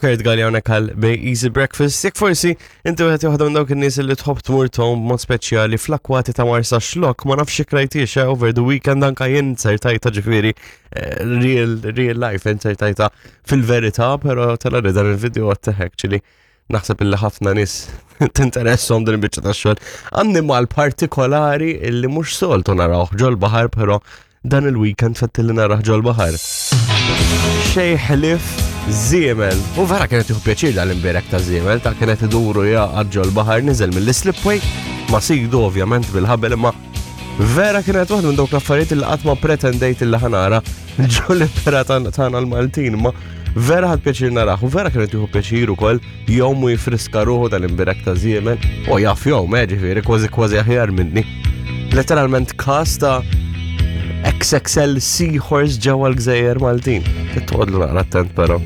Kurt Galli hawnhekk għal Bay Easy Breakfast. Jekk forsi inti wieħed joħodha minn dawk in-nies li tħobb tmur tgħum b'mod speċjali fl-akwati ta' Marsa Xlok, ma nafx jekk rajtiex eh, over the weekend anka jien sertajta ġifieri eh, real real life insertajta fil-verità, però tela li dan il-video għat actually naħseb illi ħafna nies tinteressom din il-biċċa tax-xogħol. Annimal partikolari illi mhux soltu narawh ġol-baħar, però Dan il-weekend fettilli naraħ ġol-baħar. Xej ħlif żiemel. U vera kienet jieħu pjaċir dal-imbierek ta' żiemel ta' kienet iduru jaqgħad ġol-baħar niżel mill-slipway ma sidu ovvjament bil-ħabel imma vera kienet waħda minn dawk l-affarijiet li qatt ma pretendejt illi ħanara ġol-ibra tagħna l-Maltin ma vera ħad pjaċir naraħ u vera kienet jieħu pjaċir ukoll jom u jifriska ruħu tal-imbirek ta' żiemel, u jaf jom, eh, ġifieri, kważi kważi aħjar minni. Letteralment kas ta' XXL Seahorse ġewwa l-Gżejjer Maltin. Titqodlu naqra attent però.